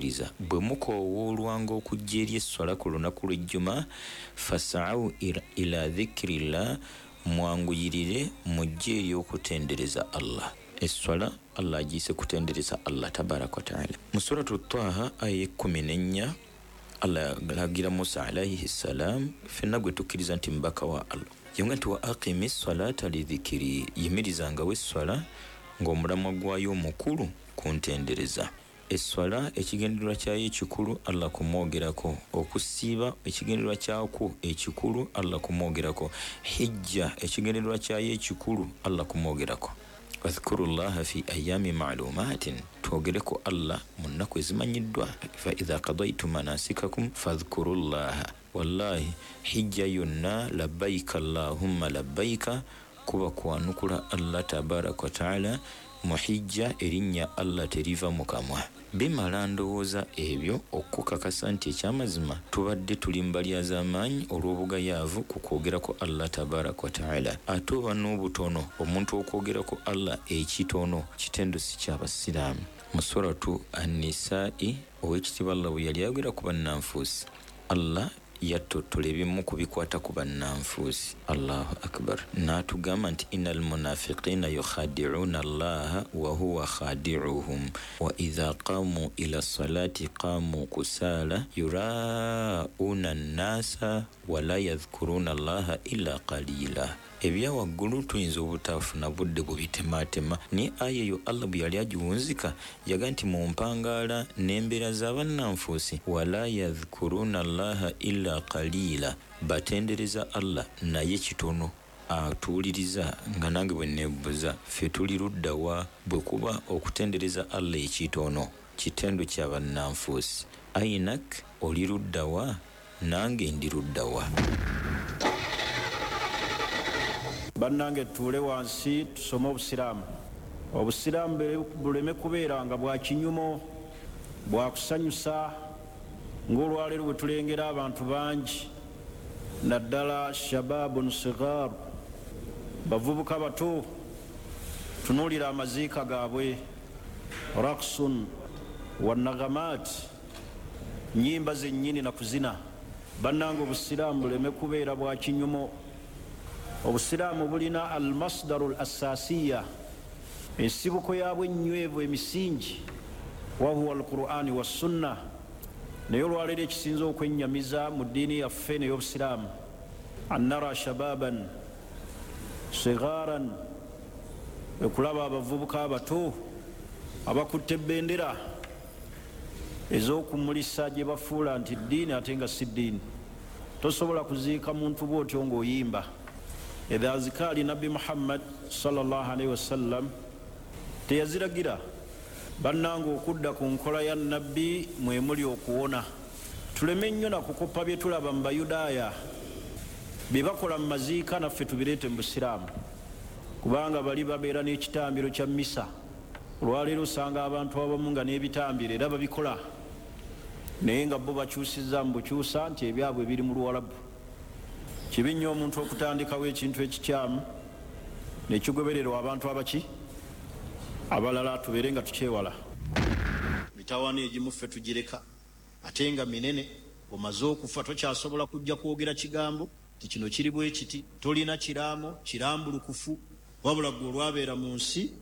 Abakkiriza, bwe mukoowoolwanga okujja eri esswala ku lunaku lw'ejjuma, fasau ila dhikirillah, mwanguyirire mujje eri okutendereza Allah. Esswala Allah agiyise kutendereza Allah tabaraka wataala. Mu Suratu Taha aya 14, Allah alagira Musa alaihi ssalam, ffenna gwe tukkiriza nti mubaka wa Allah, yamugamba nti wa aqimi salata lidhikiri, yimirizangawo esswala ng'omulamwa gwayo omukulu kuntendereza. Esswala ekigendererwa kyayo ekikulu Allah kumwogerako, okusiiba ekigendererwa kyakwo ekikulu Allah kumwogerako, hijja ekigendererwa kyayo ekikulu Allah kumwogerako. Wadhkurullaha fi ayami ma'lumatin, twogereko Allah mu nnaku ezimanyiddwa. Fa idha qadaytum manasikakum fadhkurullaha. Wallahi hijja yonna labbaika allahumma labbaika kuba kwanukula Allah tabaraka wa taala. Mu hijja erinnya Allah teriva mu kamwa. Bimala ndowooza ebyo okukakasa nti ekyamazima tubadde tuli mu balyazaamaanyi olw'obugayaavu ku kwogerako Allah tabaraka wa taala. Ate oba n'obutono omuntu okwogerako Allah ekitono kitendo si kyabasiraamu. Mu Suratu An-Nisa'i, ow'ekitiibwa Allah bwe yali ayogera ku bannanfuusi, Allah yattottola ebimu ku bikwata ku bannanfuusi. Allahu akbar. N'atugamba nti innal munafiqina yukhadi'una Allaha wa huwa khadi'uhum wa idha qamu ila salati qamu kusala yura'una nnasa wa la yadhkuruna Allaha illa qalila. Ebya waggulu tuyinza obutafuna budde bubitematema, naye aya eyo Allah bwe yali agiwunzika yaga nti mu mpangaala n'embeera z'abannanfuusi wala yadhkuruna Allaha illa qalila, batendereza Allah naye kitono. Atuwuliriza nga nange bwe neebuuza, ffe tuli ludda wa bwe kuba okutendereza Allah ekitono kitendo kya bannanfuusi? Ainak, oli ludda wa? Nange ndi ludda wa? Bannange, tutuule wansi tusome obusiraamu. Obusiraamu buleme kubeera nga bwa kinyumo, bwa kusanyusa, ng'olwaleero bwe tulengera abantu bangi, naddala shababun sigar, bavubuka bato. Tunuulira amaziika gaabwe, raksun wanagamaat, nyimba zennyini na kuzina. Bannange, obusiraamu buleme kubeera bwa kinyumo. Obusiraamu bulina almasdaru l assasiya, ensibuko yaabwe ennywevu, emisingi, wahuwa alqurani wassunna. Naye olwaleero ekisinza okwennyamiza mu ddiini yaffe ney'obusiraamu, annara shababan sigaran, okulaba abavubuka abato abakutte ebendera ez'okumulisa gye bafuula nti ddiini, ate nga si ddiini. Tosobola kuziika muntu bwotyo ng'oyimba ezo azikaali. Nabbi Muhammad sallallahu alaihi wasallam teyaziragira. Bannange, okudda ku nkola ya nabbi mwemuli okuwona. Tuleme nnyo nakukopa bye tulaba mu Bayudaaya bye bakola mu maziika, naffe tubireete mu busiraamu, kubanga bali babeera n'ekitambiro kya misa. Olwaleero osanga abantu abamu nga n'ebitambiro era babikola, naye nga bo bakyusiza mu bukyusa nti ebyabwe biri mu Luwalabu. Kibi nnyo omuntu okutandikawo ekintu ekikyamu nekigobererwa abantu abaki abalala. Tubeere nga tukyewala mitawaana egimu, ffe tugireka ate nga minene. Omaze okufa, tokyasobola kujja kwogera kigambo ti kino kiri bwe kiti. Tolina kiraamo kirambulukufu, wabula gwe olwabeera mu nsi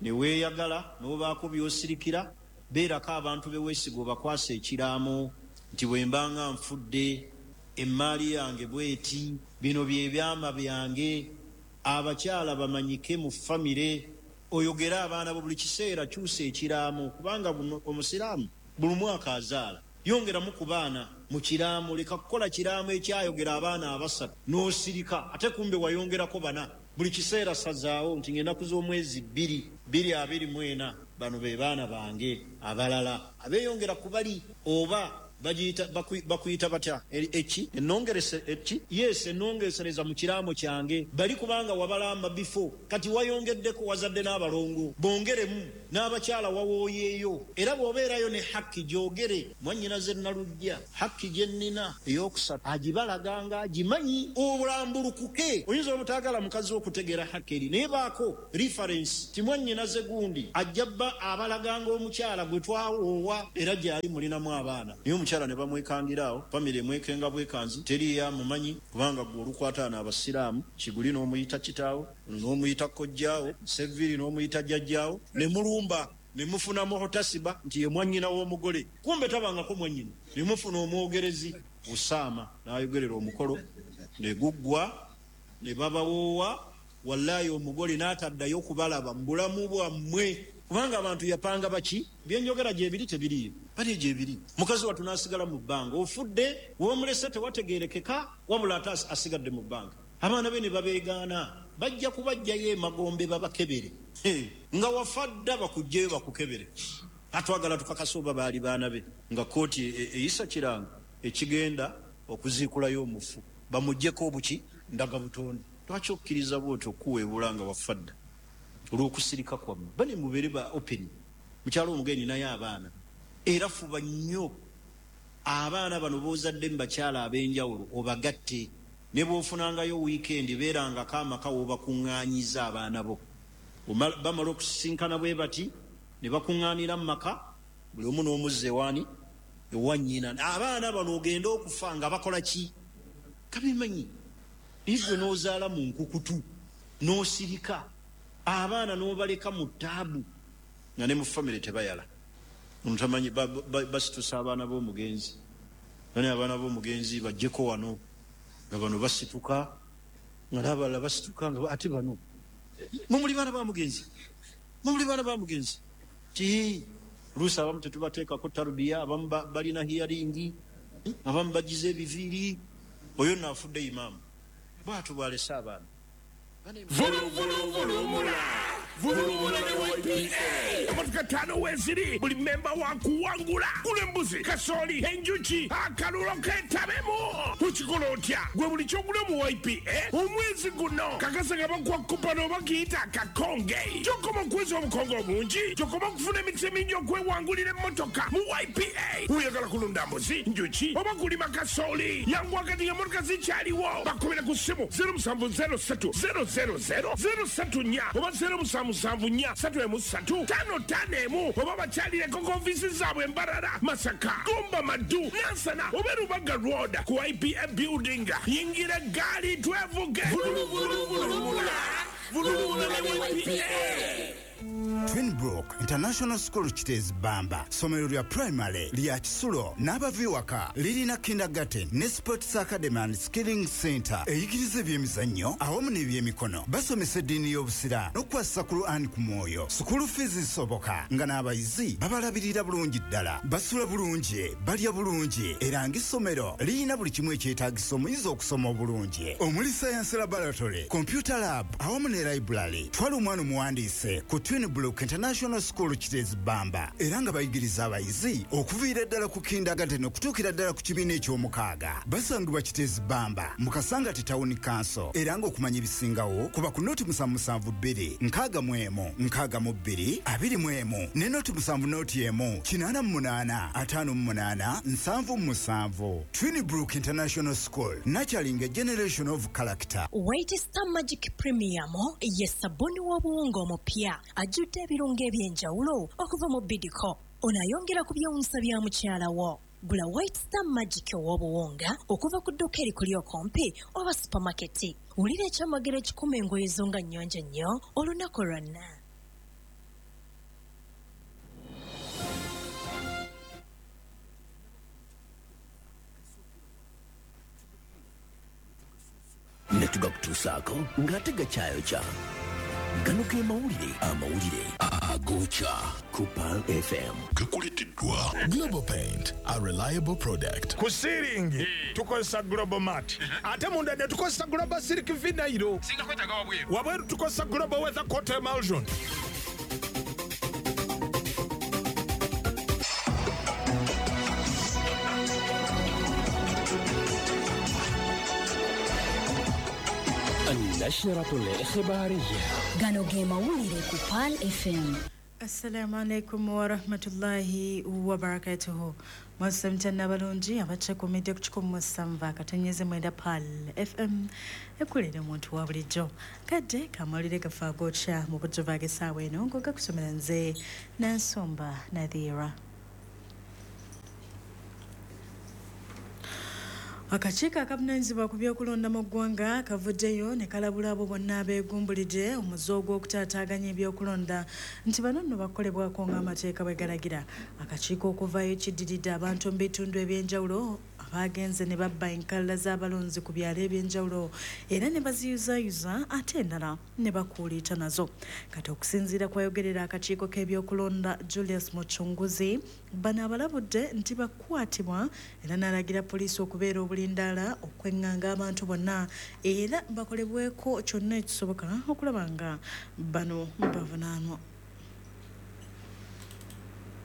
neweeyagala n'obaako byosirikira. Beerako abantu beweesiga, obakwasa ekiraamo nti bwe mbanga nfudde, emmaali yange bweti, bino byebyama byange. Abakyala bamanyike mu famire, oyogere abaana bo buli kiseera. Kyusa ekiraamo, kubanga omusiraamu buli mwaka azaala. Yongeramu ku baana mu kiraamo. Leka kukola kiraamo ekyayogera abaana abasatu n'osirika, ate kumbe wayongerako bana. Buli kiseera sazaawo nti ng'ennaku z'omwezi 2, 2024, bano be baana bange abalala abeeyongera ku bali oba Bakuyita batya eki enongerese eki? Yes, enongesereza mu kiraamo kyange. Bali kubanga wabalamba before, kati wayongeddeko, wazadde n'abalongo, bongeremu n'abakyala wawooyeeyo. Era bw'obeerayo ne hakki gyogere, mwannyinaze Nalujja, hakki gye nnina ey'okusatu agibalaganga agimanyi, obulambulukuke. Oyinza obutaagala mukazi okutegeera hakki eri, naye baako reference ti mwannyinaze gundi ajja bba abalaganga omukyala gwe twawoowa, era gyali mulinamu abaana. Naye omukyala ne bamwekangira awo, famire emwekenga bwekanzi, teriyo amumanyi, kubanga gwe olukwataana abasiraamu, Kiguli n'omuyita kitaawo, n'omuyita kojjaawo, Seviri n'omuyita jjajjaawo, ne mulumba ne mufuna muhutasiba nti ye mwannyina w'omugole, kumbe tabangako mwannyina. Ne mufuna omwogerezi Usaama n'ayogerera omukolo ne guggwa, ne babawoowa. Wallayi omugole n'ataddayo kubalaba mu bulamu bwammwe, kubanga abantu yapanga baki. Byenjogera gyebiri tebiriyo, bali gyebiri. Mukazi wattu n'asigala mu bbanga, ofudde w'omulese tewategeerekeka, wabula ate asigadde mu bbanga. Abaana be ne babeegaana, bajja kubajjayo emagombe babakebere nga wafa dda, bakugjeyo bakukebere. Atwagala tukakase oba baali baana be, nga kooti eyisa kiranga ekigenda okuziikulayo omufu, bamuggyeko obuki ndagabutonde. Lwaki okkiriza bwotyo okuweebula nga wafa dda olw'okusirika kwammwe? Bane mubeere ba open. Mukyalo omugeni naye abaana, era fuba nnyo abaana bano b'ozadde mu bakyala ab'enjawulo obagatte. Ne bw'ofunangayo wiikendi, beerangako amaka w'obakuŋŋaanyiza abaana bo. Bamala okusisinkana bwe bati ne bakuŋŋaanira mu maka, buli omu n'omuzza ewaani, ewa nnyina. Abaana bano ogenda okufa nga bakola ki? Kabimanyi. Naye ggwe n'ozaala mu nkukutu n'osirika, abaana n'obaleka mu ttaabu, nga ne mu famire tebayala. Ono tamanyi, basitusa abaana b'omugenzi, bani abaana b'omugenzi bajjeko wano, nga bano basituka, nga n'abalala basituka, nga ate bano mumuli baana ba mugenzi, mumuli baana ba mugenzi. Ti luusi abamu tetubateekako tarubiya, abamu balina hiyaringi, abamu bagize ebiviiri. Oyo nno afudde imaamu, bw'atyo bw'alese abaana. Vuluvuluvulumula vulumula ne YPA. Emotoka ttaano weeziri, buli memba wa kuwangula. Gula embuzi, kasooli, enjuki, akalulo keetabemu. Okikola otya? Gwe buli ky'ogula mu YPA omwezi guno, kakasa nga bakuwa kupano oba kiyita akakonge. Gy'okoma okuweza obukonge obungi, gy'okoma okufuna emikisa emingi okwewangulira emmotoka mu YPA. Oyagala kulunda mbuzi, njuki oba kulima kasooli? Yanguwa kati ng'emmotoka zikyaliwo. Bakubira ku ssimu 0703 000 034 oba 0774 3 3 51 oba bakyalireko ku ofiisi zaabwe Mbarara, Masaka, Gomba, Maddu, Nansana oba Rubaga Road ku IPA building. Yingira eggaali twevuge. Vuluvuluvulumula vulumula ne YPA. Twinbrook International School Kiteezi Bamba, ssomero lya primary lya kisulo n'abava ewaka, lirina kindergarten ne sports academy and skilling center eyigiriza ebyemizannyo awamu n'ebyemikono. Basomesa eddiini y'Obusiraamu n'okukwasisa Quran ku mwoyo. School fees zisoboka, nga n'abayizi babalabirira bulungi ddala, basula bulungi, balya bulungi, era ng'essomero lirina buli kimu ekyetaagisa omuyizi okusoma obulungi, omuli science laboratory, computer lab awamu ne library. Twala omwana omuwandiise ku Twinbrook International School Kiteezi Bamba, era nga bayigiriza abayizi okuviira ddala ku kindergarten okutuukira ddala ku kibiina eky'omukaaga. Basangibwa Kiteezi Bamba mu Kasangati Town Council, era ng'okumanya ebisingawo kuba ku 072 61 62 21 ne 0 70 01 88 58 77. Twinbrook International School, nurturing a generation of character. White Star Magic Premium ye sabbuuni w'obuwunga omupya ajjudde ebirungo eby'enjawulo okuva mu Bidco. Ono ayongera ku byewuunyisa bya mukyala wo. Gula White Star Magic ow'obuwunga okuva ku dduuka erikuli okumpi oba supamaketi. Wulira ekyamagero ekikuma engoye zo nga nnyonjo nnyo olunaku lwonna. Ne tugakutuusaako ng'ate gakyayokya. Gano ge mawulire, amawulire agokya ku Pearl FM. Gakuleteddwa Global Paint, a reliable product. Ku ceiling tukozesa Global Mat, ate munda ne tukozesa Global Silk Vinyl, wabweru tukozesa Global Weather Coat Emulsion. النشرة الإخبارية. Gano ge mawulire ku Pearl FM. Assalamu alaikum warahmatullahi wabarakatuhu. Mwasamtana balungi abachekomedde ku 107.9 Pearl FM ekulere omuntu wa bulijjo. Kadde kamawulire gafa agokya mu bujjuvu ag'essaawa eno ng'ogakusomera nze Nansomba Nadhira. Akakiiko akavunaanyizibwa ku by'okulonda mu ggwanga kavuddeyo ne kalabula abo bonna abeegumbulidde omuze ogw'okutaataaganya ebyokulonda nti bano nno bakolebwako ng'amateeka bwe galagira. Akakiiko okuvaayo kiddiridde abantu mu bitundu ebyenjawulo abagenze ne babba enkalala z'abalonzi ku byalo ebyenjawulo era ne baziyuzayuza ate endala ne bakuuliita nazo. Kati okusinziira kwayogerera akakiiko k'ebyokulonda Julius Muchunguzi, bano abalabudde nti bakwatibwa era n'alagira poliisi okubeera obulindaala okweŋŋanga abantu bonna era bakolebweko kyonna ekisoboka okulaba nga bano bavunaanwa.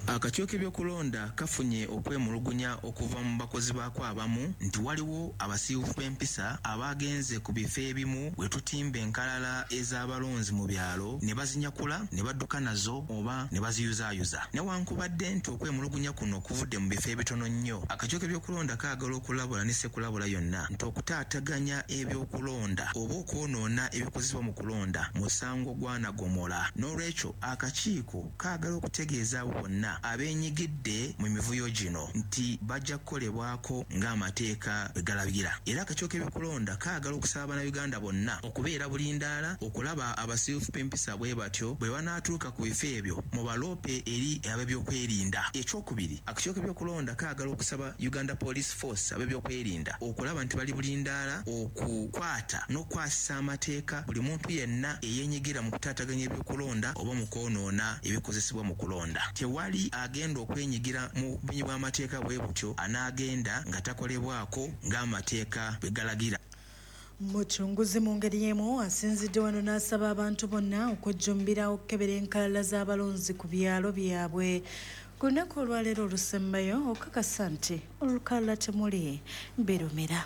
Akakiiko k'ebyokulonda kafunye okwemulugunya okuva mu bakozi baako abamu nti waliwo abasiiwuufu b'empisa abagenze ku bifo ebimu we tutimba enkalala ez'abalonzi mu byalo ne bazinyakula ne badduka nazo oba ne baziyuzaayuza. Newankubadde nti okwemulugunya kuno kuvudde mu bifo ebitono nnyo, akakiiko k'ebyokulonda kaagala okulabula ne ssekulabula yonna nti okutaataganya ebyokulonda oba okwonoona ebikozesebwa mu kulonda musango gwa naggomola. N'olwekyo akakiiko kaagala okutegeeza abo bonna abeenyigidde mu mivuyo gino nti bajja kukolebwako ng'amateeka bwe galagira. Era akakiiko k'ebyokulonda kaagala okusaba Bannayuganda bonna okubeera bulindaala okulaba abasiiwuufu b'empisa bwe batyo bwe banaatuuka ku bifo ebyo mubaloope eri ab'ebyokwerinda. Ekyokubiri, akakiiko k'ebyokulonda kaagala okusaba Uganda Police Force ab'ebyokwerinda okulaba nti bali bulindaala okukwata n'okukwasisa amateeka buli muntu yenna eyeenyigira mu kutaataganya ebyokulonda oba mu kwonoona ebikozesebwa mu kulonda. Tewali agenda okwenyigira mu bumenyi bw'amateeka bwe butyo anaagenda nga takolebwako ng'amateeka bwe galagira. Muchunguzi mu ngeri y'emu asinzidde wano n'asaba abantu bonna okujjumbira okukebera enkalala z'abalonzi ku byalo byabwe ku lunaku olwaleero olusembayo okukakasa nti olukalala temuli birumira.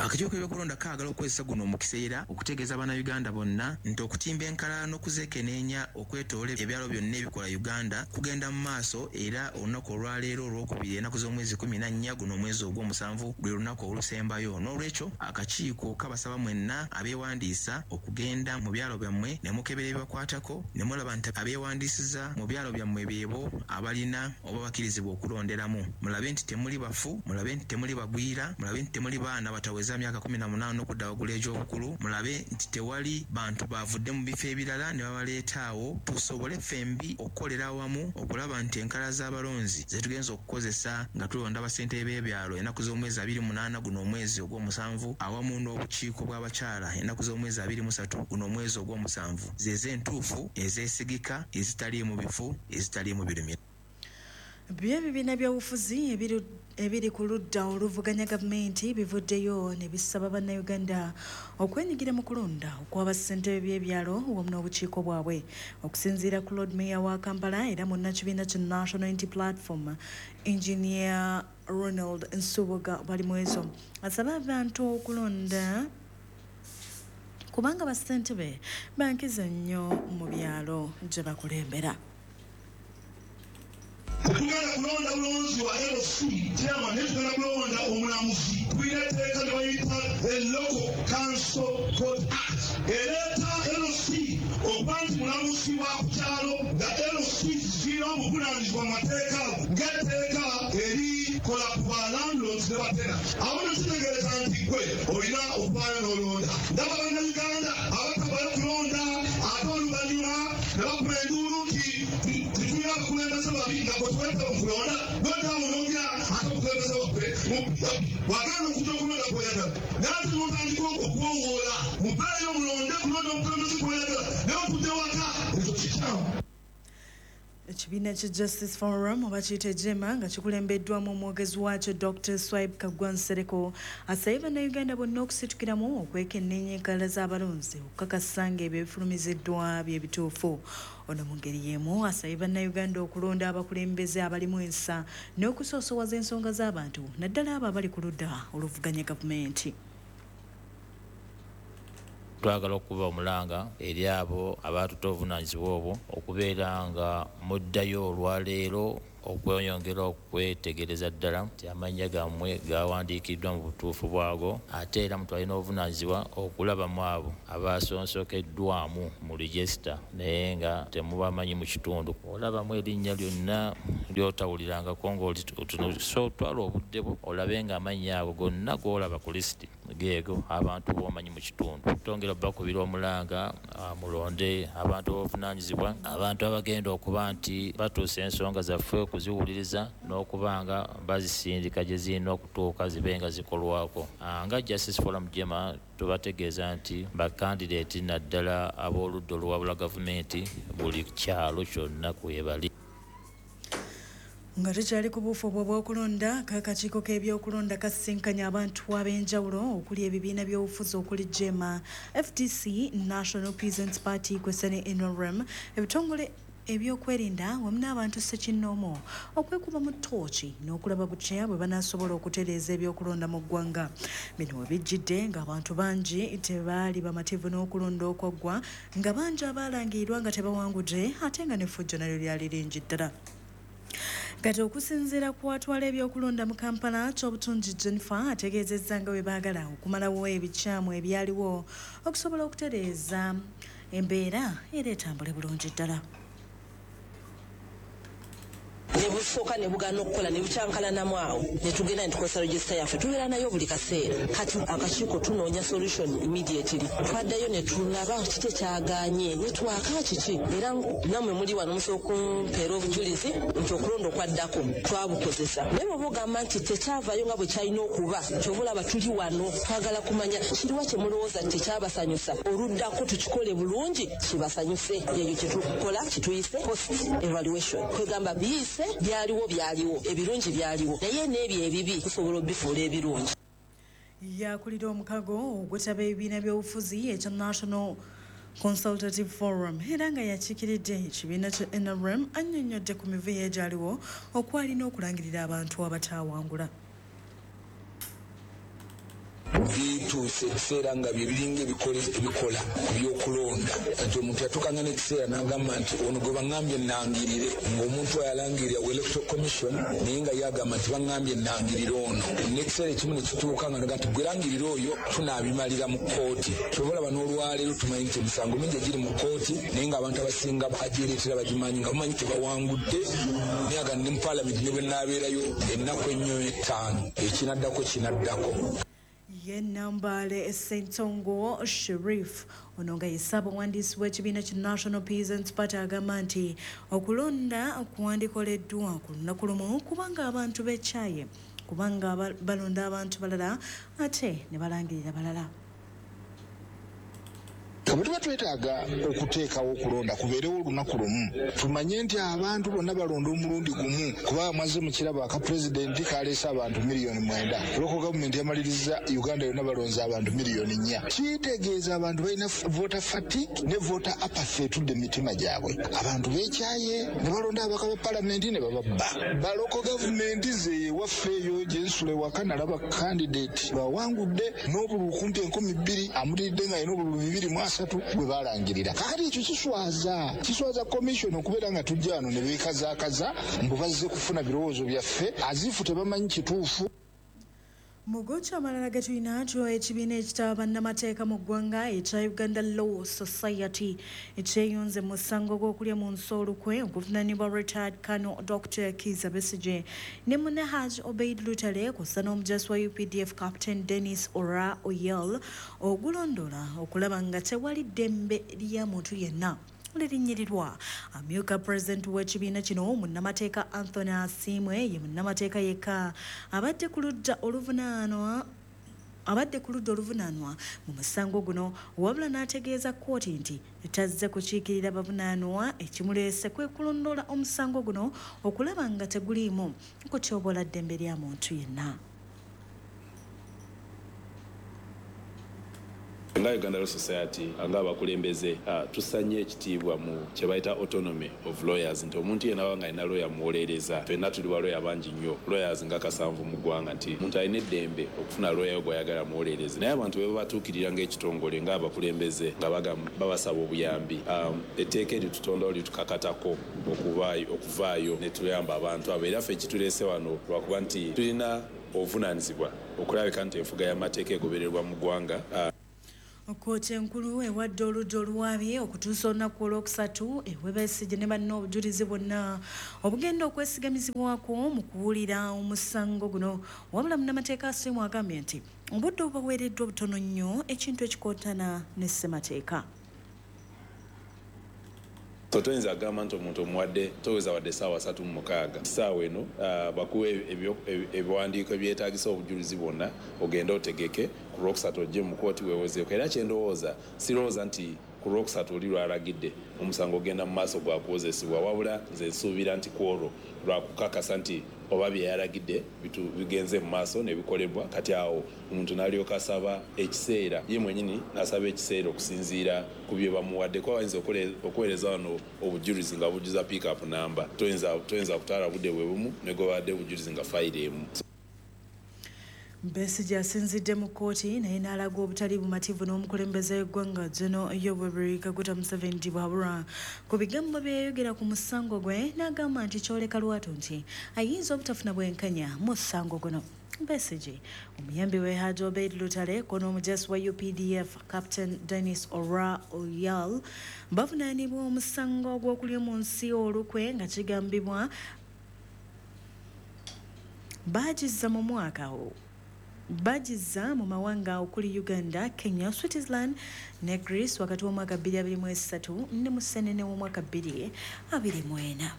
Akakiiko k'ebyokulonda kaagala okukozesa guno omukisa era okutegeeza Bannayuganda bonna nti okutimba enkalala n'okuzeekeneenya okwetoola ebyalo byonna ebikola Uganda kugenda mu maaso era olunaku olwaleero olwokubiri ennaku z'omwezi 14 guno omwezi ogw'omusanvu lwe lunaku olusembayo. N'olwekyo akakiiko kabasaba mwenna abeewandiisa okugenda mu byalo byammwe ne mukebera ebibakwatako ne mulaba nti abeewandiisiza mu byalo byammwe beebo abalina oba bakkirizibwa okulonderamu. Mulabe nti temuli bafu, mulabe nti temuli bagwira, mulabe nti temuli baana bataweza myaka 18 okudda waggulu egy'obukulu, mulabe nti tewali bantu bavudde mu bifo ebirala ne babaleeta awo, tusobole ffembi okukolera awamu okulaba nti enkalala z'abalonzi ze tugenza okukozesa nga tulonda bassentebe b'ebyalo ennaku z'omwezi 28 guno omwezi ogw'omusanvu awamu n'obukiiko bw'abakyala ennaku z'omwezi 23 guno omwezi ogw'omusanvu ze z'entuufu ezeesigika ezitaliimu bifu ezitaliimu birumira. Byo ebibiina by'obufuzi ebiri ku ludda oluvuganya gavumenti bivuddeyo ne bisaba Bannayuganda okwenyigira mu kulonda okw'abassentebe b'ebyalo wamu n'obukiiko bwabwe. Okusinziira ku Lord Mayor wa Kampala era munnakibiina kya National Unity Platform Engineer Ronald Nsubuga Balimwezo asaba abantu okulonda kubanga bassentebe bankiza nnyo mu byalo gye bakulembera. Tetugenda kulonda bulonzi wa LC chairman, netugenda kulonda omulamuzi. Tulina etteeka lye bayita the Local Council Court Act ereeta LC okuba nti mulamuzi wa ku kyalo nga LC zirina obuvunaanyizibwa mu mateeka ago ng'etteeka erikola ku ba landlords ne batenant. Awo nno kitegeeza nti ggwe olina okuvaayo n'olonda. Ndaba Bannayuganda abatavaayo kulonda ate oluvannyuma ne bakuba enduulu nti tetulina abakulembeze babi nga bwe tubayita mu kulonda noddawo n'ogira ate omukulembeze waffe bw'agaana okujja okulonda kw'oyagala naye ate n'otandika okuwowoola muveeyo mulonde kulonda omukulembeze gw'oyagala naye otudde waka ekyo kikyamu. Ekibiina kya Justice Forum oba kiyite JEMA nga kikulembeddwamu omwogezi waakyo Dr. Swaib Kaggwa Nsereko asabye Bannayuganda bonna okusitukiramu okwekenneenya enkalala z'abalonzi okukakasa ng'ebyo ebifulumiziddwa bye bituufu. Ono mu ngeri y'emu asabye Bannayuganda okulonda abakulembeze abalimu ensa n'okusoosowaza ensonga z'abantu naddala abo abali ku ludda oluvuganya gavumenti. Twagala okuba omulanga eri abo abatuta obuvunaanyizibwa obwo okubeera nga muddayo olwaleero okweyongera okwetegereza ddala nti amannya gammwe gawandiikiddwa mu butuufu bwago, ate era mutwale n'obuvunaanyizibwa okulabamu abo abasonsokeddwamu mu regisita naye nga temubamanyi mu kitundu. Olabamu erinnya lyonna ly'otawulirangako ng'oli, so twala obudde bwo olabe nga amannya ago gonna g'olaba ku lisiti geego abantu b'omanyi mu kitundu. Twongera obbakubira omulanga, mulonde abantu b'obuvunaanyizibwa, abantu abagenda okuba nti batuusa ensonga zaffe okuziwuliriza n'okuba nga bazisindika gye zirina okutuuka zibe nga zikolwako. Nga Justice Forum JEMA tubategeeza nti bakandideeti naddala ab'oludda oluwabula gavumenti buli kyalo kyonna kwebali. Nga tukyali ku buufu obwo obw'okulonda, kakakiiko k'ebyokulonda kasisinkanya abantu ab'enjawulo okuli ebibiina by'obufuzi okuli JEMA, FDC, National Peasants Party kwessa ne NRM, ebitongole ebyokwerinda wamu n'abantu ssekinnoomu okwekuba mu ttooki n'okulaba butya bwe banaasobola okutereeza ebyokulonda mu ggwanga. Bino we bijjidde ng'abantu bangi tebaali bamativu n'okulonda okwaggwa, nga bangi abaalangirirwa nga tebawangudde ate nga n'effujjo nalyo lyali lingi ddala. Kati okusinziira ku atwala ebyokulonda mu Kampala, Kyobutungi Jennifer, ategeezezza nga bwe baagala okumalawo ebikyamu ebyaliwo okusobola okutereeza embeera era etambule bulungi ddala. Ne busooka ne bugaana okukola ne bukyankalanamu, awo ne tugenda ne tukozesa regisita yaffe, tubeera nayo buli kaseera. Kati akakiiko tunoonya solution immediately. Twaddayo ne tulaba kiki ekyagaanye ne twaka kiki, era nammwe muli wano musobola okumpeera obujulizi nti okulonda okwaddako twabukozesa. Naye bw'oba ogamba nti tekyavaayo nga bwe kyalina okuba, kyova olaba tuli wano, twagala kumanya kiriwa kye mulowooza nti tekyabasanyusa, oluddako tukikole bulungi kibasanyuse. Ekyo kyetukola kituyise post evaluation. Kwegamba biyise, byaliwo, byaliwo ebirungi, byaliwo, naye n'ebyo ebibi tusobola obifuula ebirungi. Yakulira omukago ogwetaba ebibiina by'obufuzi ekya National Consultative Forum era nga yakiikiridde ekibiina kya NRM, annyonnyodde ku mivuyo egyaliwo okwalina okulangirira abantu abataawangula. Bituuse ekiseera nga bye biringa ebikola ku byokulonda, nti omuntu yatuukanga n'ekiseera n'agamba nti ono gwe baŋŋambye nangirire, ng'omuntu oyo alangirira wa Electoral Commission, naye nga ye agamba nti baŋŋambye nangirire ono. N'ekiseera ekimu ne kituuka nga naga nti gwe langirire oyo, tunaabimalira mu kkooti. Kyova olaba n'olwaleero tumanyi nti emisango mingi egiri mu kkooti, naye ng'abantu abasinga bagyereetera bagimanyi nga bamanyi tebawangudde, naye aga ne mu paalamenti ne bwe naabeerayo ennaku ennyo 5, ekinaddako kinaddako. Ye Nambaale Ssentongo Sherif, ono nga ye ssaabawandiisi w'ekibiina ki National Peasants Party, agamba nti okulonda kwandikoleddwa ku lunaku lumu kubanga abantu bekyaye, kubanga balonda abantu balala ate ne balangirira balala. Bwe tuba twetaaga okuteekawo okulonda kubeerewo olunaku lumu, tumanye nti abantu bonna balonda omulundi gumu, kuba mwazze mukiraba aka pulezidenti kaleese abantu miliyoni 9, local gavumenti yamaliriza Uganda yonna balonze abantu miliyoni 4. Kitegeeza abantu balina voter fatigue ne voter apathy etudde mu mitima gyabwe. Abantu beekyaye ne balonda ababaka ba palamenti ne bababba ba local gavumenti. Ze ewaffe eyo gyensula ewaka nalaba candidate bawangudde n'obululu kumpi 2000, amutiridde nga alina obululu 230 bwe balangirira. Kakati ekyo kiswaza, kiswaza commission okubeera nga tujja wano ne beekazaakaza mbu bazze kufuna birowoozo byaffe, azifu tebamanyi kituufu. Mugoki amalala ge tulina kyo, ekibiina ekitaba bannamateeka mu ggwanga ekya Uganda Law Society ekyeyunze mu musango gw'okulya mu nsi olukwe okuvunaanibwa retired Colonel Dr Kiza Besigye ne munne Haj Obeid Lutale kw'ossa n'omujaasi wa UPDF Captain Denis Ora Oyel, ogulondola okulaba nga tewali ddembe lya muntu yenna lirinyirirwa. Amyuka pulezidenti w'ekibiina kino, munnamateeka Anthony Asiimwe, ye munnamateeka yekka abadde ku ludda oluvunaanwa mu musango guno, wabula n'ategeeza kkooti nti tazze kukiikirira bavunaanwa, ekimuleese kwe kulondoola omusango guno okulaba nga teguliimu kutyoboola ddembe lya muntu yenna. Nga Uganda Law Society ng'abakulembeze tusanye ekitiibwa mu kye bayita autonomy of lawyers, nti omuntu yenna aba nga alina lawyer muwolereza. Ffenna tuli ba lawyer bangi nnyo, lawyers nga 7 mu ggwanga, nti omuntu alina eddembe okufuna lawyer gw'ayagala muwolereze. Naye abantu bwe babatuukirira ng'ekitongole ng'abakulembeze nga babasaba obuyambi, etteeka eritutondawo litukakatako okuvaayo ne tuyamba abantu abo. Era ffe ekituleese wano lwakuba nti tulina obuvunaanyizibwa okulabika nti enfuga y'amateeka egobererwa mu ggwanga. Kkooti enkulu ewadde oludda oluwaabi okutuusa olunaku olwokusatu ewe Besigye ne banne obujulizi bwonna obugenda okwesigamizibwako mu kuwulira omusango guno. Wabula munnamateeka Asiimwe agambye nti obudde obubaweereddwa butono nnyo, ekintu ekikontana ne ssemateeka. So toyinza kugamba nti omuntu omuwadde toweza wadde essaawa 36. Essaawa eno bakuwe ebiwandiiko ebyetaagisa obujulizi bwonna, ogende otegeke ku Lwokusatu ojje mu kkooti weewozeeko. Era kyendowooza, sirowooza nti ku Lwokusatu oli lwalagidde omusango ogenda mu maaso gwa kuwozesebwa, wabula nze nsuubira nti ku olwo lwakukakasa nti oba bye yalagidde bigenze mu maaso ne bikolebwa. Kati awo omuntu n'alyoka asaba ekiseera, ye mwennyini n'asaba ekiseera okusinziira ku bye bamuwadde, kuba bayinza okuweereza wano obujulizi nga bujjuza pick-up namba. Toyinza kutwala budde bwe bumu ne gwe bawadde obujulizi nga fayiro emu. Besigye asinzidde mu kkooti naye n'alaga obutali bumativu n'omukulembeze w'eggwanga General Yoweri Kaguta Museveni Tibuhaburwa ku bigambo bye yayogera ku musango gwe, n'agamba nti kyoleka lwatu nti ayinza obutafuna bwenkanya mu musango guno. Besigye, omuyambi we Haji Obeid Lutale ko n'omujaasi wa UPDF Captain Dennis Ora Oyal bavunaanibwa omusango gw'okulya mu nsi olukwe nga kigambibwa baagizza mu mwaka bagizza mu mawanga okuli Uganda, Kenya, Switzerland ne Greece wakati w'omwaka 2023 ne Musenene w'omwaka 2024.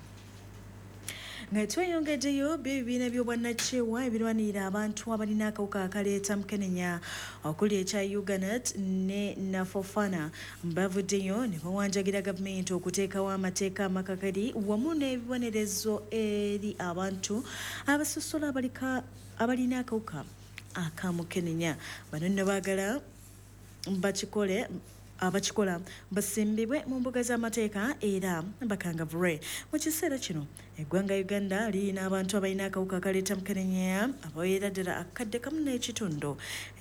Nga tweyongeddeyo, ebibiina by'obwannakyewa ebirwanirira abantu abalina akawuka akaleeta mukenenya okuli ekya Uganet ne Nafofana bavuddeyo ne bawanjagira gavumenti okuteekawo amateeka amakakali wamu n'ebibonerezo eri abantu abasosola abalina akawuka akamukenenya. Bano nno baagala abakikola basimbibwe mu mbuga z'amateeka era bakangavulwe. Mu kiseera kino eggwanga Uganda lirina abantu abalina akawuka akaleeta mukenenya abawerera ddala 1.5 kakadde,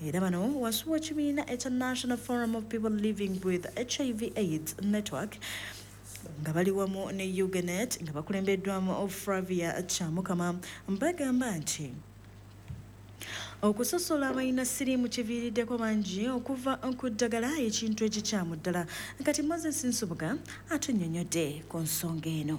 era bano wansi w'ekibiina ekya National Forum of People Living with HIV AIDS Network nga bali wamu ne Uganet nga bakulembeddwamu Flavia Kyamukama bagamba nti okusosola abalina siriimu kiviiriddeko bangi okuva ku ddagala, ekintu ekikyamu ddala. Kati Moses Nsubuga atunnyonnyodde ku nsonga eno.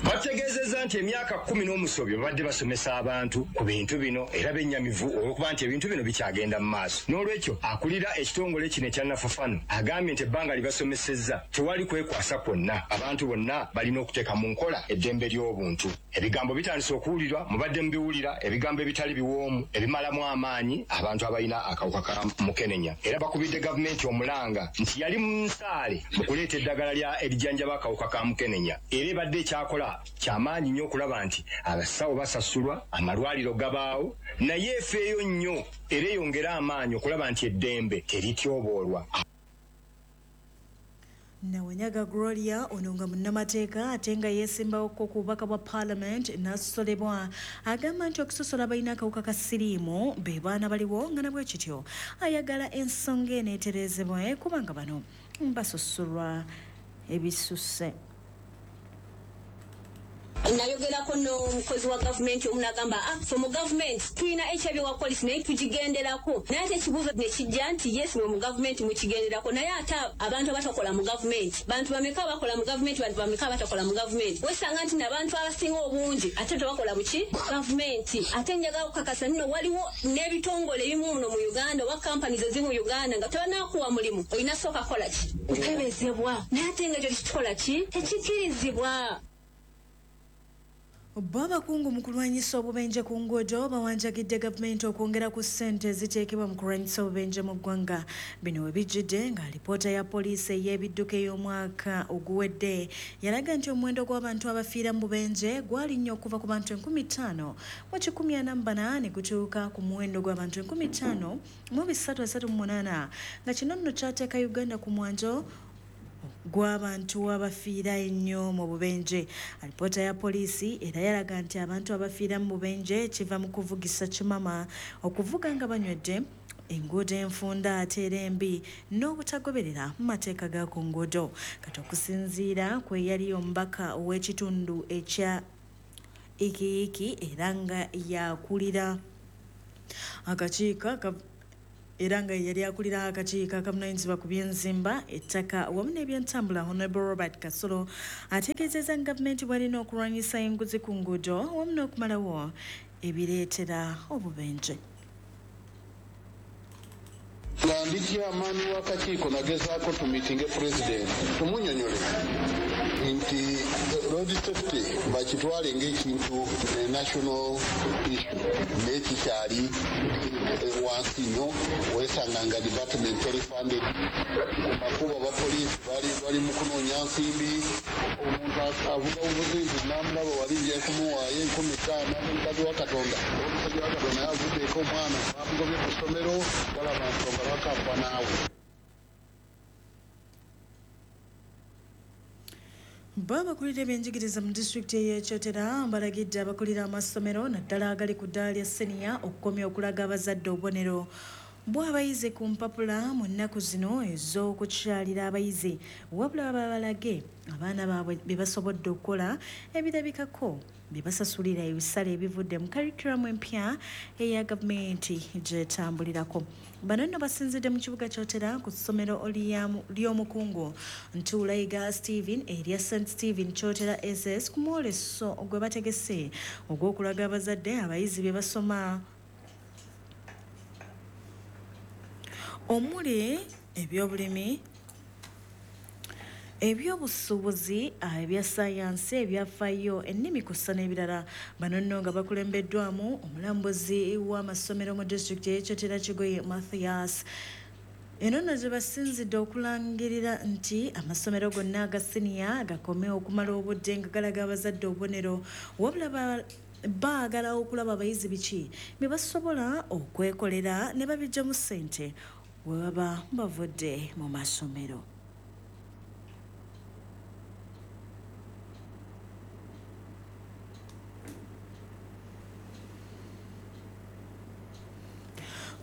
Bategeezezza nti emyaka 10 n'omusobyo babadde basomesa abantu ku bintu bino, era bennyamivu olw'okuba nti ebintu bino bikyagenda mu maaso. N'olwekyo akulira ekitongole kino ekya Nafafano agambye nti ebbanga lye basomesezza tewali kwekwasa kwonna, abantu bonna balina okuteeka mu nkola eddembe ly'obuntu. Ebigambo bitandise okuwulirwa, mubadde mubiwulira, ebigambo ebitali biwoomu ebimalamu amaanyi abantu abalina akawuka ka mukenenya. Era bakubidde gavumenti omulanga nti yali mu nsaale mu kuleeta eddagala lya erijjanjaba akawuka ka mukenenya, era ebadde ekyakola kyamaanyi nnyo okulaba nti abasawo basasulwa, amalwaliro gabaawo, naye efeeyo nnyo era eyongere amaanyi okulaba nti eddembe terityoboolwa. Nawanyaga Gloria ono nga munnamateeka ate nga yeesimbawoko ku bubaka bwa Parliament n'asosolebwa, agamba nti okusosola abalina akawuka ka siriimu be baana baliwo, nga nabwe kityo ayagala ensonga eno etereezebwe kubanga bano basosolwa ebisusse. Nayogerako n'omukozi wa gavumenti omu n'agamba, "Ah, fe mu gavumenti tulina HIV wa policy, naye tugigenderako." Naye ate ekibuuzo ne kijja nti yes, mwe mu gavumenti mukigenderako, naye ate abantu abatakola mu gavumenti, bantu bameka abakola mu gavumenti, bantu bameka abatakola mu gavumenti? Wesanga nti nabantu abasinga obungi ate tebakola muki gavumenti. Ate njagala okukakasa nno waliwo n'ebitongole ebimu muno mu Uganda oba companies ezimu mu Uganda nga tebanakuwa mulimu olina sooka kukola ki? Kukebezebwa. Naye ate nga ekyo tekitukola ki? Tekikirizibwa. Bo abakungu mu kulwanyisa obubenje ku nguudo bawanjagidde gavumenti okwongera ku ssente eziteekebwa mu kulwanyisa obubenje mu ggwanga. Bino we bijjidde nga alipoota ya poliisi ey'ebidduka ey'omwaka oguwedde yalaga nti omuwendo gw'abantu abafiira mu bubenje gwalinnya okuva ku bantu 5144 ne gutuuka ku muwendo gw'abantu 5338, nga kino nno kyateeka Uganda ku mwanjo gw'abantu abafiira ennyo mu bubenje. Alipoota ya poliisi era yalaga nti abantu abafiira mu bubenje kiva mu kuvugisa kimama, okuvuga nga banywedde, enguudo enfunda ate era embi, n'obutagoberera mu mateeka ga ku nguudo. Kati okusinziira ku eyali omubaka ow'ekitundu ekya Ikiiki era nga yakulira akakiiko era nga yali akulira akakiiko akavunaanyizibwa ku by'enzimba, ettaka wamu n'ebyentambula, Honorable Robert Kasolo, ategeezezza nga gavumenti bw'alina okulwanyisa enguzi ku nguudo wamu n'okumalawo ebireetera obubenje. Nga ndi chairman w'akakiiko nagezaako tumiitinge pulezidenti tumunyonyole nti road safety bakitwale ng'ekintu national issue, naye kikyali wansi nnyo. Weesanga nga department teri funded, ku makubo abapoliisi bali mu kunoonya nsimbi. Omuntu avuga buvuzi nti namulaba wali nja kumuwaayo 5000 omukazi wa Katonda, omusajja wa Katonda naye avuddeeko omwana bamugobye ku ssomero, balaba nsonga bakafa naawe. Bo abakulira ebyenjigiriza mu disitulikiti ey'e Kyotera balagidde abakulira amasomero naddala agali ku ddaala lya seniya okukomya okulaga abazadde obubonero bw'abayizi ku mpapula mu nnaku zino ez'okukyalira abayizi, wabula babalage abaana baabwe bye basobodde okukola ebirabikako bye basasulira ebisale ebivudde mu curriculum empya eya gavumenti gyetambulirako. Bano nno basinzidde mu kibuga Kyotera ku ssomero ly'omukungu Ntuulayiga Stephen erya St Stephen Kyotera SS ku mwoleso gwe bategese ogw'okulaga abazadde abayizi bye basoma omuli ebyobulimi, ebyobusuubuzi, ebya sayansi, ebyafaayo, ennimi kussa n'ebirala. Bano nno nga bakulembeddwamu omulambuzi w'amasomero mu disitulikiti ey'e Kyotera Kigoye Mathias. Eno nno gye basinzidde okulangirira nti amasomero gonna aga siniya gakome okumala obudde nga galaga abazadde obubonero, wabula baagala okulaba abayizi biki bye basobola okwekolera ne babiggyamu ssente we baba bavudde mu masomero.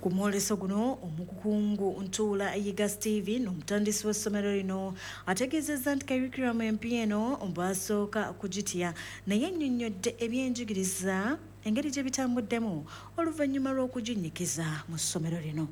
Ku mwoleso guno omukungu Ntuula Yiga Stephen, omutandisi w'essomero lino, ategeezezza nti curriculum empya eno basooka kugitya, naye ennyonnyodde ebyenjigiriza engeri gye bitambuddemu oluvannyuma lw'okuginnyikiza mu ssomero lino.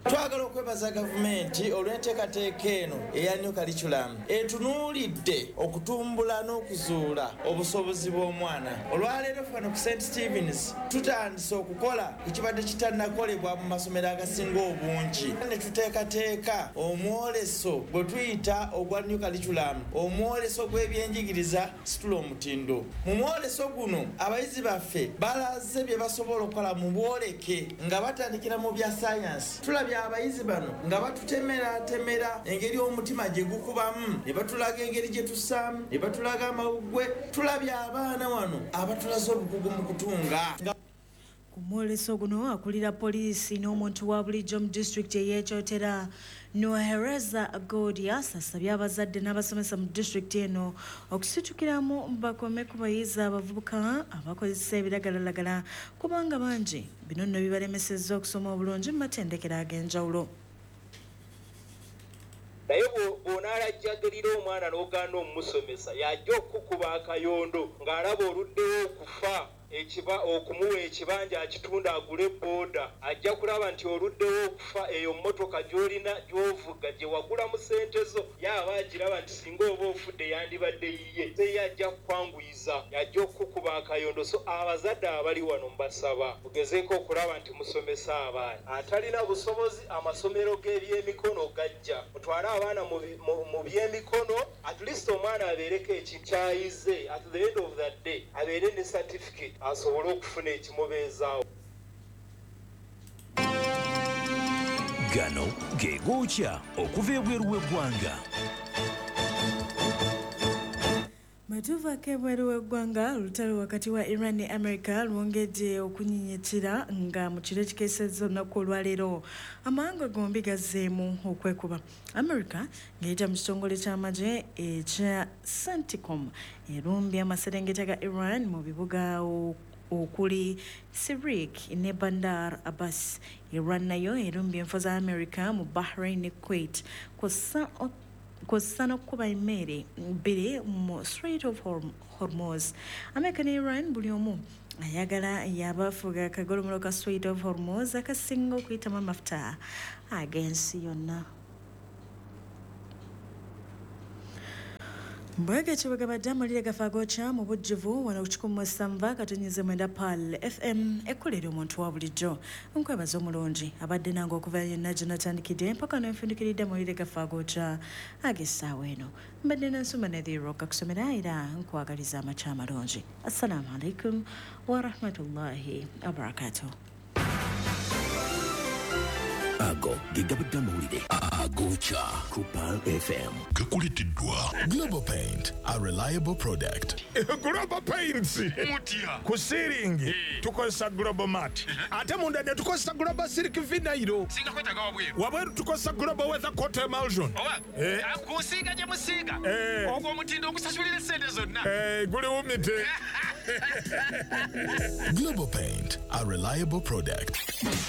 Twagala okwebaza gavumenti olw'enteekateeka eno eya new curriculum etunuulidde okutumbula n'okuzuula obusobozi bw'omwana. Olwaleero fano ku St Stevens tutandise okukola ekibadde kitannakolebwa mu masomero agasinga obungi, ne tuteekateeka omwoleso gwe tuyita ogwa new curriculum, omwoleso gw'ebyenjigiriza situla omutindo. Mu mwoleso guno abayizi baffe balaze bye basobola okukola mu bwoleke nga batandikira mu bya sayansi. Tulabye abayizi bano nga batutemeratemera engeri omutima gye gukubamu, ne batulaga engeri gye tussaamu, ne batulaga amawuggwe. Tulabye abaana wano abatulaze obukugu mu kutunga. Ku mwoleso guno akulira poliisi n'omuntu wa bulijjo mu disitulikiti ey'e Kyotera Nohereza Godias asabye abazadde n'abasomesa mu disitulikiti eno okusitukiramu bakome ku bayizi abavubuka abakozesa ebiragalalagala, kubanga bangi bino nno bibalemesezza okusoma obulungi mu matendekero ag'enjawulo. Naye bw'onaalajjagirira omwana n'ogaana omumusomesa, yajja okukuba akayondo ng'alaba oluddewo okufa. Okumuwa ekibanja akitunda agule booda, ajja kulaba nti oluddewo okufa eyo mmotoka gy'olina gy'ovuga gye wagula mu ssente zo, yaaba agiraba nti singa oba ofudde yandibadde yiye, ye ajja kukwanguyiza, yajja okukukuba akayondo. So abazadde abali wano mbasaba mugezeeko okulaba nti musomesa abaana. Atalina busobozi, amasomero g'ebyemikono gajja, mutwale abaana mu byemikono, at least omwana abeereko ekikyayize, at the end of the day abeere ne certificate asobole okufuna ekimubeezaawo. Gano ge gookya okuva ebweru w'eggwanga. Bwe tuvaako ebweru w'eggwanga, olutalo wakati wa Iran ne America lwongedde okunyinyitira, nga mu kiro ekikeesezza olunaku olwaleero amawanga gombi gazzeemu okwekuba. America ng'eyita mu kitongole ky'amagye ekya CENTCOM erumbye amaserengeta ga Iran mu bibuga okuli Sirik ne Bandar Abbas. Iran nayo erumbye enfo za America mu Bahrain ne Kuwait, kw'ossa n'okukuba emmere bbiri mu Strait of Hormuz. America ne Iran buli omu ayagala yabafuga akagolomolo ka Strait of Hormuz akasinga okuyitamu amafuta ag'ensi yonna. Mbwege kibagabadde amawulire gafe agokya mu bujjuvu wano ku 107.9 Pearl FM, ekkolera omuntu wa bulijjo. Nkwebaza omulungi abadde nange okuva yonna gye natandikidde mpaka nenfundikiridde amawulire gafe agokya ag'essaawa eno. Mbadde nansoma Nadhiro kakusomera, era nkwagaliza amakya amalungi. Assalamu alaikum warahmatullahi wabarakatuh. Ago ge gabadde amawulire agokya ku Pearl FM. Gakuleteddwa Global Paint, a reliable product. Global Paints mutya? Ku ceiling tukozesa Global Mat, ate munda ne tukozesa Global Silk Vinyl. Singa kwetaaga wabweru? Wabweru tukozesa Global Weather Coat Emulsion. Oba kusiiga gye musiiga ogwo omutindo ogusasulira essente zonna. Guli wumite. Global Paint, a reliable product.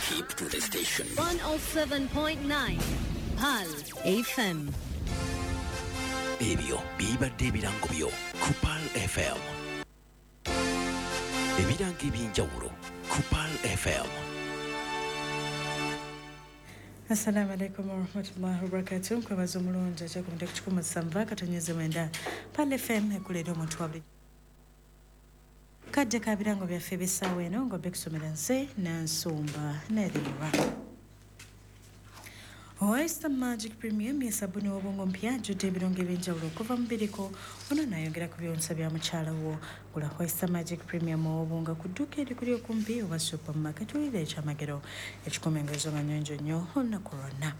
Keep to the station. 107.9 Pearl FM. Ebyo bibadde ebirango byo ku Pearl FM. Ebirango eby'enjawulo ku Pearl FM. Assalamu alaikum warahmatullahi wabarakatuh. Nkwebaza omulungi akyakumudde ku 107.9 Pearl FM, ekulera omuntu wa buli kadde ka birango byaffe eby'essaawa eno, nga bekusomera nze Nansumba Nadhira. Oyster Magic Premium ye sabuni w'obwongo mpya ajjudde ebirungo ebyenjawulo okuva mu biriko. Ono naayongera ku byonsa bya mukyala wo. Gula Oyster Magic Premium ow'obwongo ku dduuka erikuli okumpi oba supermarket, wulira ekyamagero ekikuma engoye nga nnyonjo nnyo olunaku lwonna.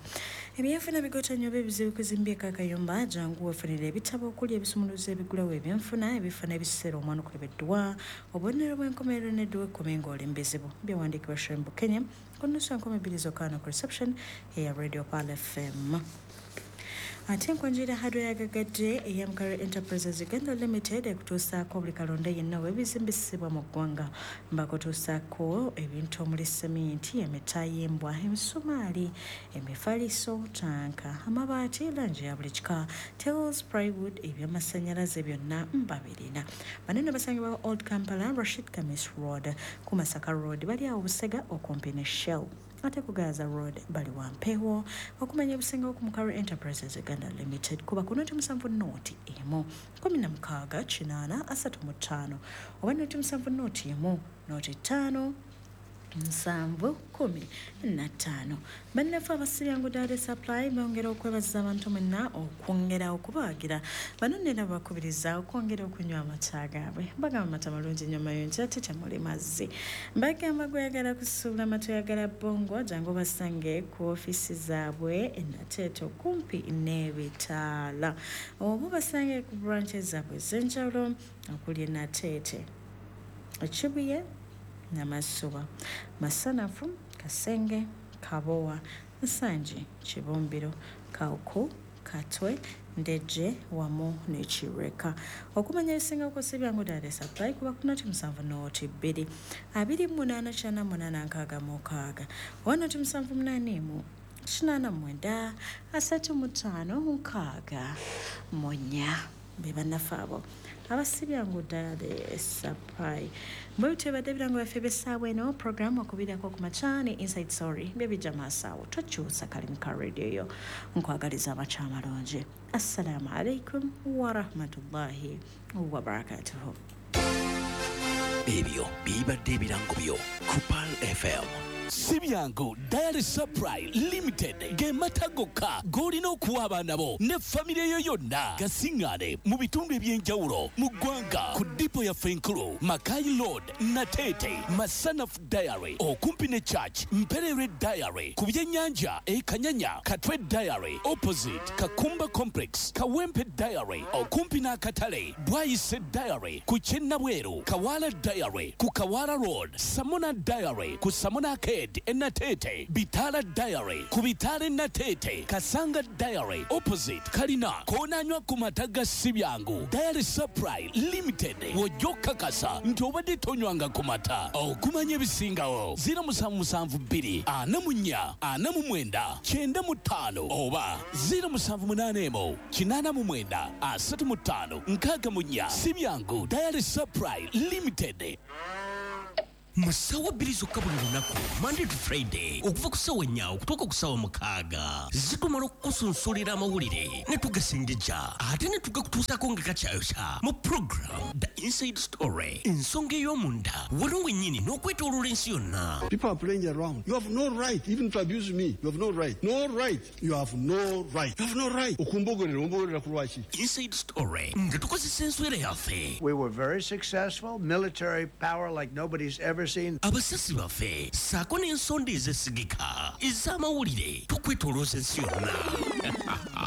Ebyenfuna bigota nnyo oba ebizibu kuzimbyeko akayumba, jangu weefunire ebitabo okuli ebisumuluzo ebigulawo ebyenfuna, ebifo n'ebiseera omwana okulebeddwa, obubonero bw'enkomerero n'edduwa ekkumi ng'oli mu bizibu. Byawandiikibwa Shembu Kenya ku 1:30 zokka ku reception eya Radio Pearl FM. Ate enkonjera hardware yagagadde eya Mukare Enterprises Uganda Limited ekutuusaako buli kalonda yenna w'ebizimbisibwa mu ggwanga. Mbakutuusaako ebintu omuli seminti, emitayimbwa, emisumaali, emifaliso, tanka, amabaati, langi ya buli kika, tiles, plywood, ebyamasannyalaze byonna mbabirina. Banene basangibwa Old Kampala, Rashid Kamis Road, ku Masaka Road, bali awo Busega okumpi ne Shell. Ate ku Gaza Road bali Wampewo. Okumanya ebisingawo ku Mukare Enterprises Uganda Limited kuba ku 07 0 1 16 8 35 oba 07 0 1 05 7 15. Bannaffe abasiryangu Dade Supply bongera okwebaza abantu mwenna okwongera okubawagira. Bano nera bakubiriza okwongera okunywa amata gaabwe. Bagamba amata malungi nnyo mayonjo ate temuli mazzi. Bagamba gweyagala kusuubula amata oyagala bongo, jangu basange ku ofiisi zaabwe e Nateete okumpi n'ebitaala, oba basange ku branches zaabwe ez'enjawulo okuli e Nateete, Ekibuye, Namasuba, Masanafu, Kasenge, Kabowa, Nsangi, Kibumbiro, Kauku, Katwe, Ndejje wamu ne Kireka. Okumanya ebisinga ku Sibyangu Dade Supply kuba ku 07 02 28 98 66 oba 07 81 89 35 64. Be bannaffe abo abasibyangu Dairy Supply. Bwe bityo ebadde ebirango byaffe eby'essaawa eno. Program okubirako ku makya ne Inside Story bye bijja maaso awo. Tokyusa kalimu ka radio yo. Nkwagaliza amakya amalungi. Assalamu alaikum warahmatullahi wabarakatuhu. Ebyo bibadde ebirango byo ku Pearl FM. Si byangu Dairy Supply Limited ge mata gokka g'olina okuwa abaana bo ne famire yo yonna. Gasiŋŋaane mu bitundu eby'enjawulo mu ggwanga ku dipo yaffe enkulu, Makai Road, Nateete, Masanaf Dairy okumpi ne Church, Mperere Dairy ku byennyanja e Kanyanya, Katwe Dairy opposite Kakumba Complex, Kawempe Dairy okumpi n'akatale, Bwayise Dairy ku Kyennabweru, Kawala Dairy ku Kawala Road, Samona Dairy ku Samona Arcade Enatete, Bitala Dairy ku Bitala Nateete, Kasanga Dairy opposite Kalina. Koonanywa ku mata ga Sibyangu Dairy Supply Limited w'ojja okukakasa nti obadde tonywanga ku mata. Okumanya ebisingawo 0772 44 49 95 oba 0781 89 35 64. Sibyangu Dairy Supply Limited. Mu ssaawa 2 zokka buli lunaku, Monday to Friday, okuva ku ssaawa 4 okutuuka ku ssaawa 6, zitumala okukusunsulira amawulire ne tugasengejja ate ne tugakutuusaako nga gakyayokya mu program The Inside Story, ensonga ey'omunda wano wennyini n'okwetooloola ensi yonna. People are playing around. You have no right even to abuse me. You have no right. No right. You have no right. You have no right. Okumbogerera, ombogerera ku lwaki? Inside Story nga tukozesa enswera yaffe. We were very successful, military power like nobody's ever seen. Abasasi baffe ssaako n'ensonda ezesigika ez'amawulire tukwetoolooza ensi yonna.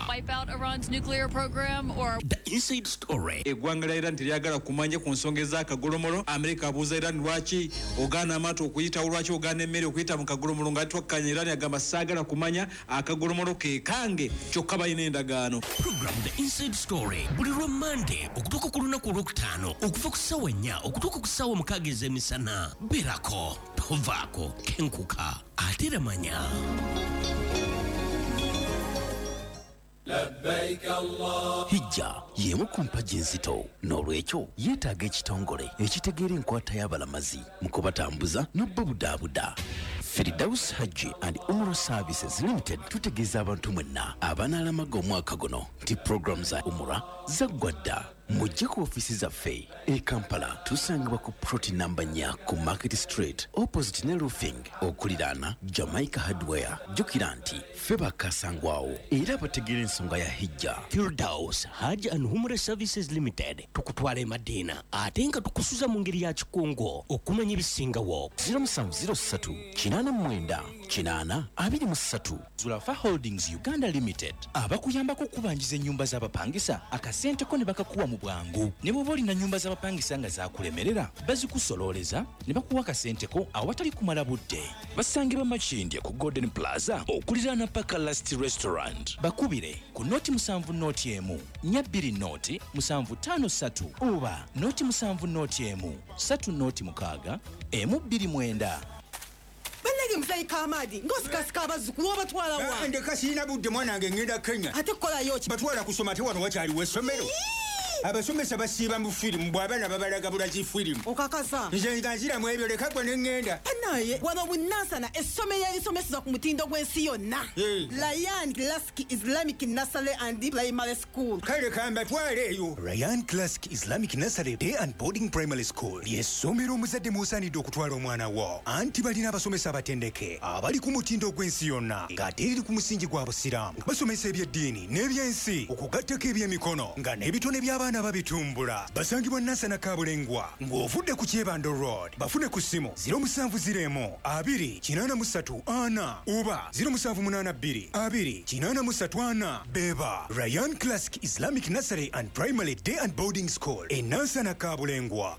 Wipe out Iran's nuclear program or The Inside Story. Eggwanga lya Iran teryagala kumanya ku nsonga ez'akagolomolo. Amerika abuuza Iran lwaki ogaana amaato okuyitawo, lwaki ogaana emmere okuyita mu kagolomolo, nga twakkanya. Iran agamba saagala kumanya, akagolomolo ke kange, kyokka balina endagaano. Program The Inside Story buli lwa Monday okutuuka ku lunaku olwokutaano okuva ku ssaawa 4 okutuuka ku ssaawa 6 ez'emisana. Beerako, tovaako, kenkuka ate era manya. Hijja y'emu ku mpagi enzito, n'olwekyo yeetaaga ekitongole ekitegeera enkwata y'abalamazi mu kubatambuza n'obbabudaabuda. Firdaus Hajji and Umrah Services Limited tutegeeza abantu mwenna abanaalamaga omwaka guno nti puroguramu za Umrah zaggwa dda. Mujje ku ofiisi zaffe e Kampala, tusangibwa ku plot namba 4 ku Market Street opposite ne Roofing okuliraana Jamaica Hardware. Jjukira nti ffe bakasangwawo era bategeera ensonga ya Hijja. Firdaus Hajj and Umrah Services Limited tukutwala e Madina ate nga tukusuza mu ngeri ya kikungo. Okumanya ebisingawo 0703 89 8 23. Zulafa Holdings Uganda Limited abakuyambako okubanjiza ennyumba z'abapangisa akasente ko ne bakakuwa mu bwangu. Ne bw'oba olina nnyumba z'abapangisa nga zaakulemerera, bazikusololeza ne bakuwa akasente ko awatali kumala budde. Basangibwa Makindye ku Golden Plaza okuliraana Paka Last Restaurant. Bakubire ku noti 7 0 1 4 2 0 7 5 3 oba noti 7 0 1 3 0 6 1 2 9. Bannange muzeeyi Kamadi ng'osikasika abazzukulu obatwala wa? Ndeka sirina budde mwana wange, ngenda Kenya. Ate kukolayo ki? Batwala kusoma ate wano wakyaliwo essomero. Abasomesa basiiba mu firimu, bw'abaana babalaga bulazi firimu. Okakasa? Nze nga nziramu ebyo, leka gwe ne ŋŋenda. Bannaye wano Bunansana essomero erisomeseza ku mutindo gw'ensi yonna. Ryan Classic Islamic Nursery and Primary School. Kale kambatwale eyo. Ryan Classic Islamic Nursery Day and Boarding Primary School ly'essomero omuzadde mw'osaanidde okutwala omwana wo, anti balina abasomesa abatendeke abali ku mutindo gw'ensi yonna ng'ate eriri ku musingi gwa Busiraamu. Basomesa eby'eddiini n'ebyensi okugattako ebyemikono nga n'ebitone by'abaana babitumbula. Basangibwa Nansana Kabulengwa ng'ovudde ku Kyebando Road. Bafune ku ssimu 0701 2 83 4 oba 0782 2 83 4. Beba Ryan Classic Islamic Nursery and Primary Day and Boarding School e Nansana Kabulengwa.